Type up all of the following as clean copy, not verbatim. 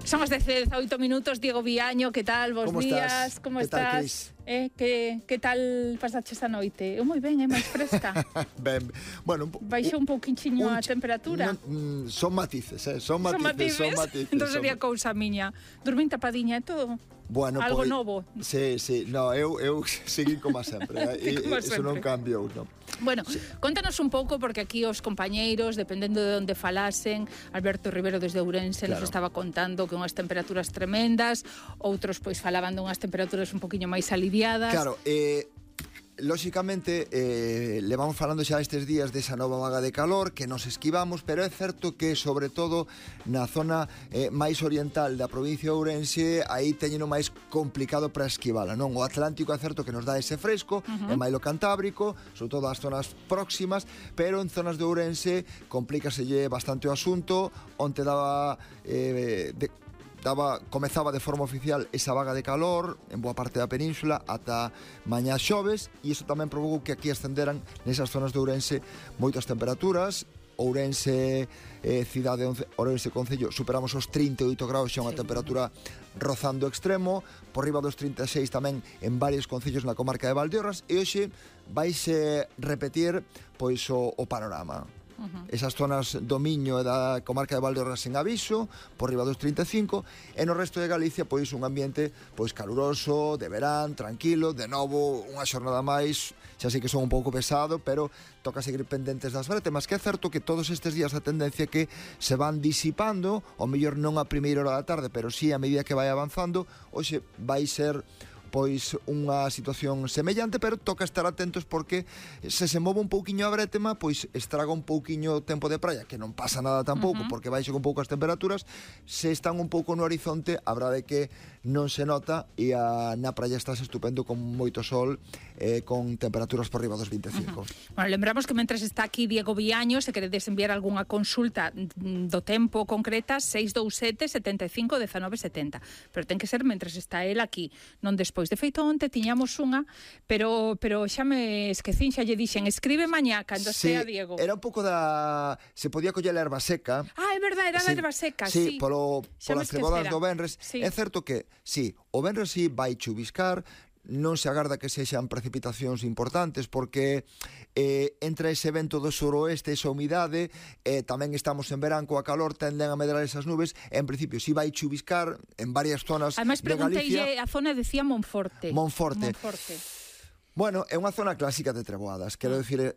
Son as 18 minutos, Diego Viaño, que tal? Bos días, como estás? Que tal pasaches a noite? Eu moi ben, máis fresca. Ben, bueno, baixou un pouquinho a temperatura. Son matices, son matices. Entón sería cousa miña. Dormín tapadiña e todo. Bueno, algo novo. Sí, no, eu seguí como sempre, eso non cambiou, non. Bueno, contanos un pouco, porque aquí os compañeiros, dependendo de onde falasen, Alberto Rivero desde Ourense nos estaba contando que unhas temperaturas tremendas, outros pois falaban de unhas temperaturas un poquinho máis aliviadas. Claro, lóxicamente levamos falando xa estes días desa nova vaga de calor que nos esquivamos, pero é certo que sobre todo na zona máis oriental da provincia de Ourense aí teñeno máis complicado para esquivala, non? O Atlántico é certo que nos dá ese fresco, e máis o Cantábrico, sobre todo as zonas próximas, pero en zonas de Ourense complícaselle bastante o asunto. Onte comezaba de forma oficial esa vaga de calor en boa parte da península ata mañá xoves, e iso tamén provocou que aquí ascenderan nesas zonas de Ourense moitas temperaturas. Ourense cidade, Ourense concello, superamos os 38 graus, xa unha temperatura rozando extremo, por riba dos 36 tamén en varios concellos na comarca de Valdeorras, e hoxe vaise repetir pois o panorama. Esas zonas do Miño e da comarca de Valdeorras en aviso, por riba dos 35, e no resto de Galicia pois un ambiente pois caluroso, de verán, tranquilo, de novo unha xornada máis, xa sei que son un pouco pesado, pero toca seguir pendentes das brétemas, que é certo que todos estes días a tendencia que se van disipando, o mellor non a primeira hora da tarde, pero sí a medida que vai avanzando. Hoxe vai ser pois unha situación semellante, pero toca estar atentos porque se move un pouquiño a brétema, pois estraga un pouquiño o tempo de praia, que non pasa nada tampouco, porque baixo un pouco as temperaturas. Se están un pouco no horizonte, a verdade é que non se nota, e na praia estás estupendo con moito sol, con temperaturas por riba dos 25. Bueno, lembramos que mentres está aquí Diego Viaño, se queredes enviar algunha consulta do tempo concreta, 627 75 19 70, pero ten que ser mentres está el aquí, non despois. De feito, onte tiñamos unha, pero xa me esquecín, xa lle dixen, escribe mañá cando estea Diego. Era un pouco se podía coller a erva seca. Ah, é verdade, era a erva seca, sí. Polas cebodas do venres. É certo que, o venres vai chuviscar, non se agarda que sexan precipitacións importantes, porque entre ese vento do suroeste, esa humidade, tamén estamos en verán coa calor, tenden a medrar esas nubes. En principio, si vai chuviscar en varias zonas de Galicia. Ademais, pregunteille a zona, decía Monforte. Bueno, é unha zona clásica de treboadas. Quero dicir,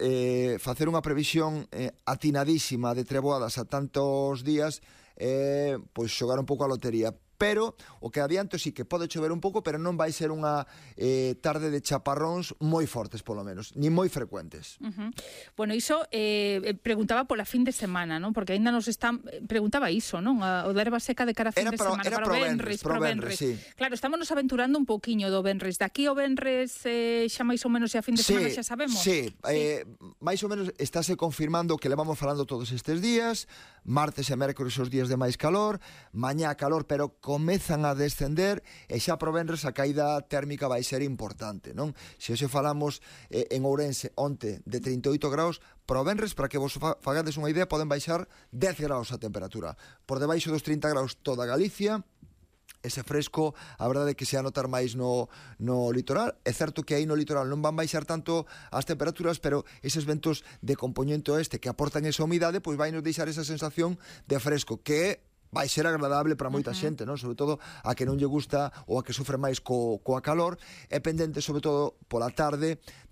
facer unha previsión atinadísima de treboadas a tantos días, pois xogar un pouco a lotería. Pero o que adianto sí que pode chover un pouco, pero non vai ser unha tarde de chaparróns moi fortes, polo menos, ni moi frecuentes. Bueno, iso preguntaba pola fin de semana, non? Porque aínda nos están... Preguntaba iso, non? O da erva seca de cara a fin de semana. Era pro Venres, sí. Claro, estamos nos aventurando un pouquiño do Venres. Daqui o Venres xa máis ou menos a fin de semana xa sabemos? Sí, máis ou menos estáse confirmando o que levamos falando todos estes días. Martes e mércores os días de máis calor, mañá calor, pero comezan a descender, e xa pro venres a caída térmica vai ser importante, non? Se hoxe falamos en Ourense onte de 38 graus, pro venres, para que vos fagades unha idea, poden baixar 10 graus a temperatura. Por debaixo dos 30 graus toda Galicia. Ese fresco, a verdade é que se a notar máis no litoral. É certo que aí no litoral non van baixar tanto as temperaturas, pero eses ventos de compoñente oeste que aportan esa humidade, pois vai nos deixar esa sensación de fresco, que vai ser agradable para moita xente, non? Sobre todo a que non lle gusta ou a que sufre máis coa calor. É pendente, sobre todo, pola tarde, de